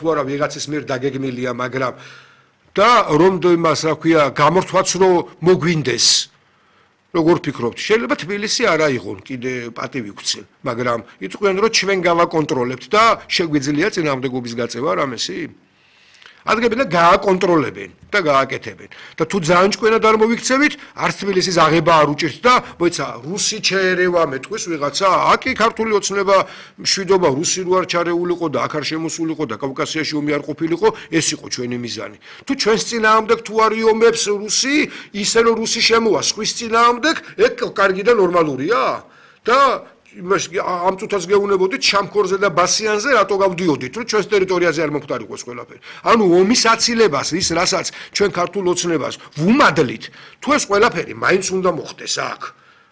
თუ არა ვიღაცის მიერ დაგეგმილია, მაგრამ და რომ იმას რა ქვია, გამორთვაც რომ მოგვინდეს. როგორ ფიქრობთ? შეიძლება თბილისი არ აიღონ კიდე პატივი გვცენ, მაგრამ იტყვიან რომ ჩვენ გავაკონტროლებთ და შეგვიძლია წინააღმდეგობის გაწევა რამესი? ადგებენ და გააკონტროლებენ და გააკეთებენ. და თუ ძალიან ჭკვიანად არ მოვიქცევით, არც თბილისის აღება არ უჭირთ და მოიცა რუსი ჩაერევა მეტყვის ვიღაცა, აკი ქართული ოცნება მშვიდობა რუსი რო არ ჩარეულიყო და აქ არ შემოსულიყო და კავკასიაში ომი არ ყოფილიყო, ეს იყო ჩვენი მიზანი. თუ ჩვენს წინააღმდეგ თუ არ იომებს რუსი, ისე რომ რუსი შემოვა სხვის წინააღმდეგ, ეგ კარგი და ნორმალურია? და ამ წუთას გეუნებოდით შამქორზე და ბასიანზე რატო გავდიოდით, რომ ჩვენს ტერიტორიაზე არ მომხდარიყოს ყველაფერი. ანუ ომის აცილებას, ის რასაც ჩვენ ქართულ ოცნებას ვუმადლით, თუ ეს ყველაფერი მაინც უნდა მოხდეს აქ.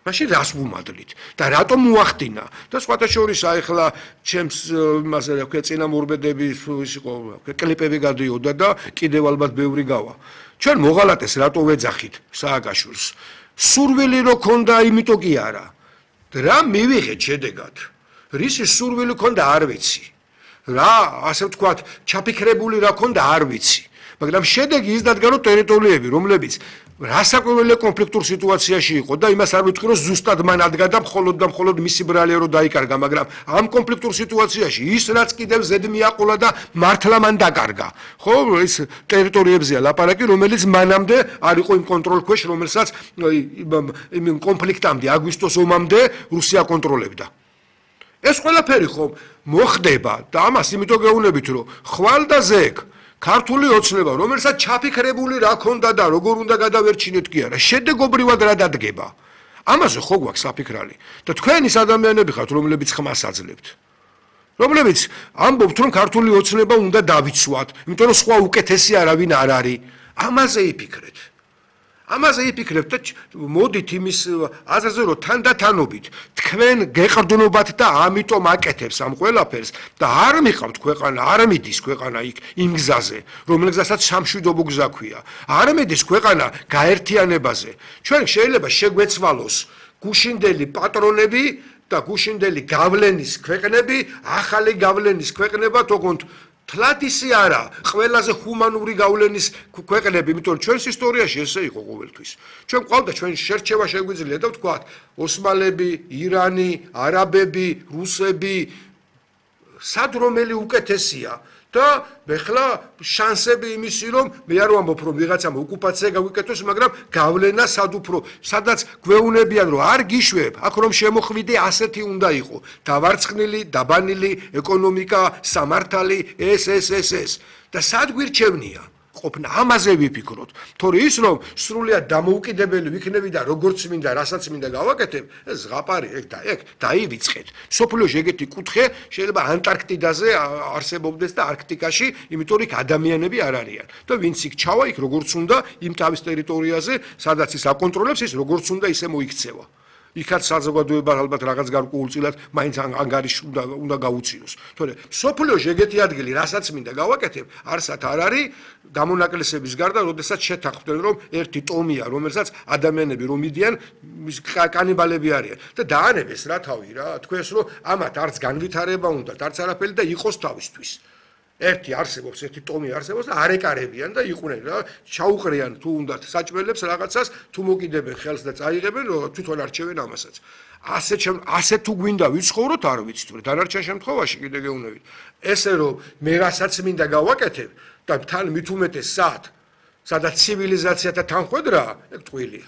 მაშინ რას ვუმადლით და რატომ მოახდინა? და სხვათა შორის ახლა ჩემს იმაზე რა ქვია წინამორბედები ის იყო, კლიპები გადიოდა და კიდევ ალბათ ბევრი გავა. ჩვენ მოღალატეს რატო ვეძახით სააკაშვილს? სურვილი რო ქონდა, იმიტომ კი არა. რა მივიღეთ შედეგად? რისი სურვილი ქონდა არ ვიცი. რა, ასე ვთქვათ, ჩაფიქრებული რა ქონდა არ ვიცი. მაგრამ შედეგი ის დადგა, რომ ტერიტორიები, რომლებიც რასაკვირველია კონფლიქტურ სიტუაციაში იყო და იმას არ ვიტყვი, რომ ზუსტად მან ადგა და მხოლოდ მისი ბრალია რო დაიკარგა, მაგრამ ამ კონფლიქტურ სიტუაციაში ის რაც კიდევ ზედ მიაყოლა და მართლა მან დაკარგა. ხო, ეს ტერიტორიებზეა ლაპარაკი, რომელიც მანამდე არ იყო იმ კონტროლ ქვეშ, რომელსაც იმ კონფლიქტამდე, აგვისტოს ომამდე რუსია კონტროლებდა. ეს ყველაფერი ხომ მოხდება და ამას იმიტომ გეუბნებით, რომ ხვალ და ზეგ ქართული ოცნება, რომელსაც ჩაფიქრებული რა ქონდა და როგორ უნდა გადავერჩინოთ კი არა, შედეგობრივად რა დადგება. ამაზე ხო გვაქვს საფიქრალი და თქვენ ის ადამიანები ხართ, რომლებიც ხმას აძლევთ. რომლებიც ამბობთ, რომ ქართული ოცნება უნდა დავიცვათ, იმიტომ რომ სხვა უკეთესი არავინ არ არის. ამაზე იფიქრეთ. ამაზე იფიქრებთ და მოდით იმის აზრზე, რომ თანდათანობით თქვენ გეყრდნობათ და ამიტომ აკეთებს ამ ყველაფერს და არ მიყავთ ქვეყანა, არ მიდის ქვეყანა იქ იმ გზაზე, რომელზესაც სამშვიდობო გზა ქვია. არ მიდის ქვეყანა გაერთიანებაზე. ჩვენ შეიძლება შეგვეცვალოს გუშინდელი პატრონები და გუშინდელი გავლენის ქვეყნები, ახალი გავლენის ქვეყნება თქონდ თლად ისი არა, ყველაზე ჰუმანური გავლენის ქვეყნები, იმიტომ რომ ჩვენს ისტორიაში ესე იყო ყოველთვის. ჩვენ ყავდა ჩვენ შერჩევა შეგვიძლია და ვთქვათ, ოსმალები, ირანი, არაბები, რუსები, სად რომელი უკეთესია და ეხლა შანსები იმისი რომ მე არ ვამბობ რომ ვიღაცამ ოკუპაცია გავიკეთოს, მაგრამ გავლენა სად უფრო, სადაც გვეუნებიან რომ არ გიშვებ, აქ რომ შემოხვიდე ასეთი უნდა იყო, დავარცხნილი, დაბანილი ეკონომიკა, სამართალი, ეს და სად გვირჩევნია? ყოფნა ამაზე ვიფიქროთ. თორე ის რომ სრულიად დამოუკიდებელი ვიქნები და როგორც მინდა, რასაც მინდა გავაკეთებ, ეს ზღაპარი ეგ დაივიწყეთ. სოფლიოში ეგეთი კუთხე შეიძლება ანტარქტიდაზე არსებობდეს და არქტიკაში, იმიტომ რომ იქ ადამიანები არ არიან. და ვინც იქ ჩავა, იქ როგორც უნდა, იმ თავის ტერიტორიაზე, სადაც ის აკონტროლებს, ის როგორც უნდა ისე მოიქცევა. იქაც საზოგადოება ალბათ რაღაც გარკვეულწილად მაინც ანგარიში უნდა გაუწიოს. თორე სოფლიოში ეგეთი ადგილი, რასაც მინდა გავაკეთებ, არსად არ არის გამონაკლისების გარდა, როდესაც შეთანხმდნენ, რომ ერთი ტომია, რომელსაც ადამიანები რომ მიდიან, კანიბალები არიან და დაანებეს რა თავი რა, თქვენს რომ ამათ არც განვითარება უნდათ, არც არაფერი და იყოს თავისთვის. ერთი არსებობს, ერთი ტომი არსებობს და არეკარებიან და იყვნენ რა, ჩაუყრიან თუ უნდათ საჭმელებს რაღაცას, თუ მოკიდებენ ხელს და წაიღებენ, თვითონ არჩევენ ამასაც. ასე თუ გვინდა ვიცხოვროთ, არ ვიცით, დანარჩენ შემთხვევაში კიდე გეუბნებით. ესე რომ მე რასაც მინდა გავაკეთებ და თან მით უმეტეს სადაც ცივილიზაციათა თანხვედრაა, ეგ ტყუილია.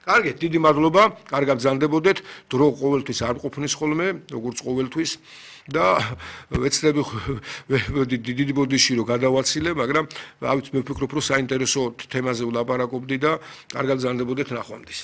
კარგით, დიდი მადლობა, კარგად გრძანდებოდეთ, დრო ყოველთვის არ ყოფნის ხოლმე, როგორც ყოველთვის. და ვეცდები დიდი ბოდიში რომ გადავაცილე, მაგრამ მე ვფიქრობ, რომ საინტერესო თემაზე ვლაპარაკობდი და კარგად გრძანდებოდეთ ნახვამდის.